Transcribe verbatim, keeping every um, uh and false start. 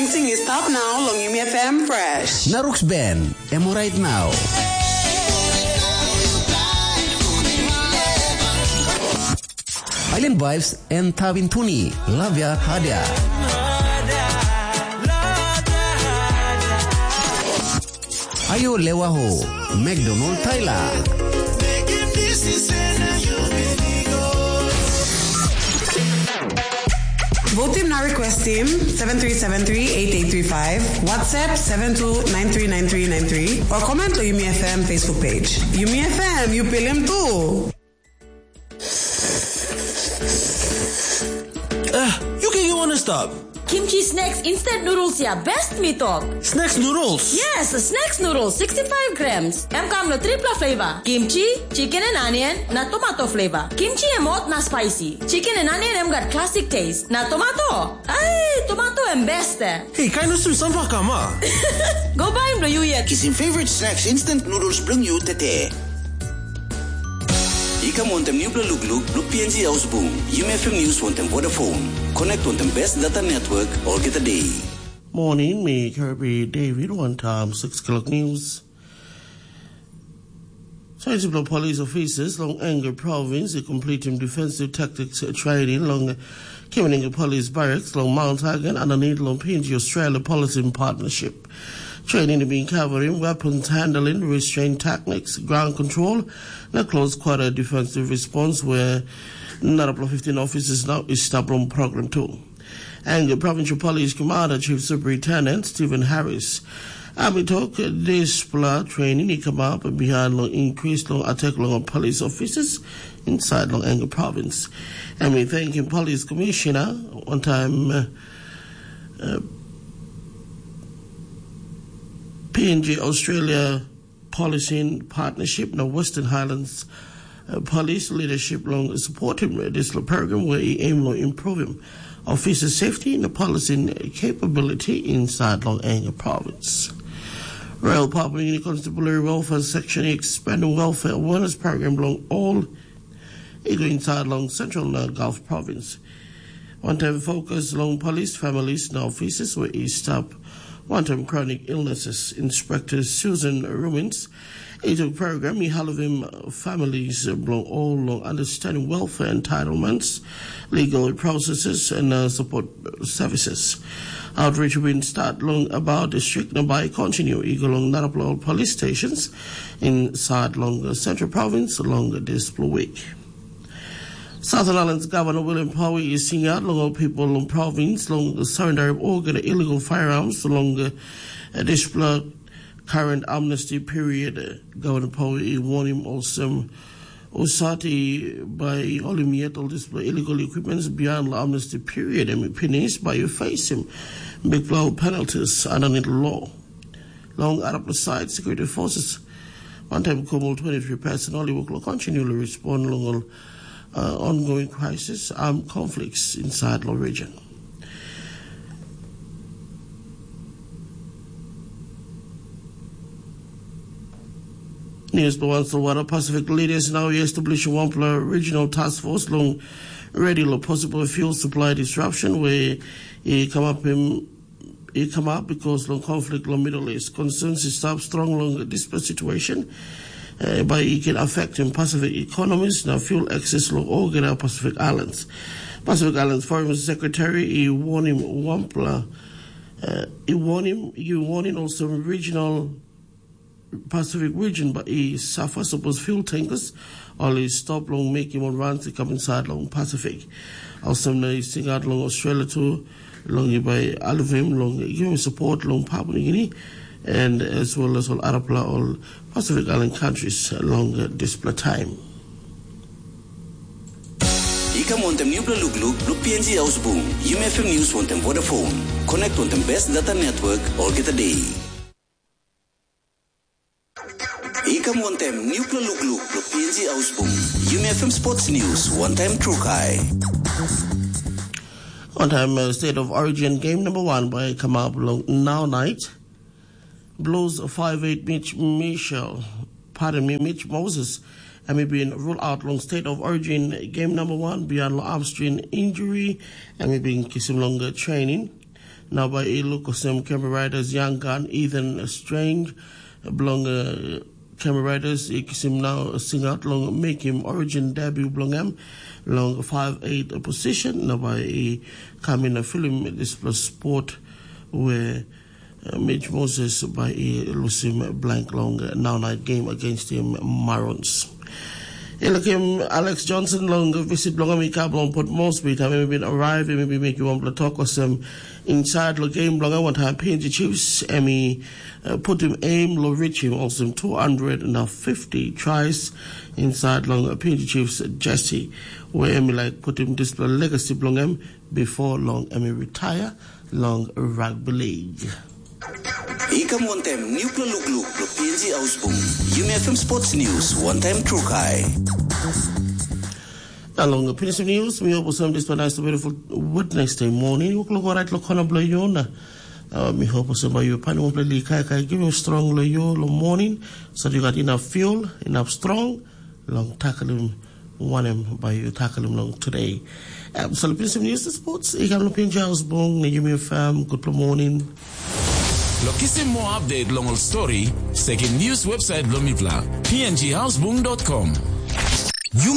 Sing is top now long Yumi F M Fresh. Naruk's Band, em alright now. Island Vibes and Tabin Tuni, Lavia Hadia. Ayo Lewaho, McDonald Tyler. Vote team na request team seven three seven three eight eight three five, WhatsApp seven two nine three nine three nine three, or comment to Yumi F M Facebook page. Yumi F M, you pilim too. Ah, you can you wanna stop? Kimchi snacks instant noodles ya best mi tok. Snacks noodles? Yes, snacks noodles sixty-five grams. Em kam lo tripla flavor. Kimchi, chicken and onion, na tomato flavor. Kimchi em hot na spicy. Chicken and onion em gat classic taste. Na tomato. Ai, tomato em best eh. Hey, kain o sum sampah kam ah. Go buy em lo you yet. Kisim favorite snacks instant noodles bilong you tete. I kam wantem nupela lukluk bilong P N G Ausbung, Yumi F M News wantem Vodafone. Connect wantem best data network olgeta day. Morning, me Kirby David, one time six o'clock news. Science of police officers long Anger province, a complete defensive tactics training long Kimaninga Police Barracks long Mount Hagen underneath long P N G Australia Policy and Partnership. Training being covering weapons handling, restraint techniques, ground control, na close quarter defensive response where narapla fifteen officers now is stop long program too. And the Provincial Police Commander Chief Superintendent Stephen Harris. Ami tok dispela training i come up behind long increase long attack long police officers inside long Anger province. And we thank him police commissioner one time uh, uh, P N G Australia Policy in Partnership na Western Highlands uh, Police leadership long supporting this program where he aim long improving officer safety na policy capability inside long Anger province. Royal Papua New Guinea Constabulary Welfare Section expanding welfare awareness program long all i go inside long Central na Gulf Province. One time focus long police families na officers where i stop one time chronic illnesses. Inspector Susan Rumins, i tok program i halivim families bilong all long understanding welfare entitlements, legal processes and uh, support services. Outreach bin start long about district na bai continue i go long narapla police stations inside long Central Province long dispela week. Southern Islands Governor William Powie i singaut long ol people long province long surrender of organ illegal firearms long uh, dispela current amnesty period. Governor Powie i warn him olsem Usati bai i holim yet ol dispela illegal equipments beyond long amnesty period em i pinis bai i facing big blow penalties underneath law. Long arapela side security forces one time kum ol twenty-three person ol i work long continue to respond long ol uh, ongoing crisis armed conflicts inside the region. News Bawang Solwara Pacific leaders now establish one regional task force long ready lo possible fuel supply disruption where it come up in it come up because long conflict long Middle East concerns is stop strong long this situation uh, by it can affect in Pacific economies na fuel access long all Pacific Islands. Pacific Islands Foreign Secretary i warn him one uh, i warn him i warn him also regional Pacific region, but i suffer suppose fuel tankers ol i stop long mekim ol runs i kam inside long Pacific. Olsem na i singaut long Australia tu long i bai alivim long givim support long Papua New Guinea and as well as ol arapela ol Pacific Island countries long dispela time. I kam wantem nupela lukluk bilong P N G Ausbung, Yumi F M News wantem Vodafone. Connect wantem best data network olgeta day. I kam wantem nupela lukluk bilong P N G Ausbung, Yumi F M Sports News wantem Trukai. Wantem uh, State of Origin game number one by come up long now night. Blues five eight Mitch Michel, pardon me, Mitch Moses, and he been ruled out long State of Origin game number one beyond long arm strain injury, and he been kissing longer training. Na bai i luk olsem Canberra Raiders young gun Ethan Strange bilong uh, Canberra Raiders i kisim nau singaut long mekim origin debut bilong em long five eight position. Na bai i kam in a film dispela sport where uh, Mitch Moses bai i lusim blank long uh, now night game against him Marons. Elakim Alex Johnson long visit bilong em i kam long Port Moresby, taim em i bin arrive, em i bin mekim wanpela tok olsem, inside long game bilong em wantaim P N G Chiefs, em i uh, putim aim lo reachim olsem two hundred na fifty tries inside long P N G Chiefs jersey, where em i like putim dispela legacy bilong em before long em i retire long rugby league. I kam wantaim nupela lukluk lo P N G Ausbung. Yumi F M Sports News, wantaim Trukai. Along the Prince of News, we also have this one nice beautiful Wednesday morning. Look, look right, look on a blow yona. Uh, mi hope also by you pan one play kai kai give you strong lo yo lo morning, so you got enough fuel, enough strong long tackle him, one him by you tackle him long today. Um, so the Prince of News, the sports, I got no pinch house bong, you me fam, good morning. Lo kisim more update long ol story, sekim news website lo mipla, P N G housebung dot com. Yumi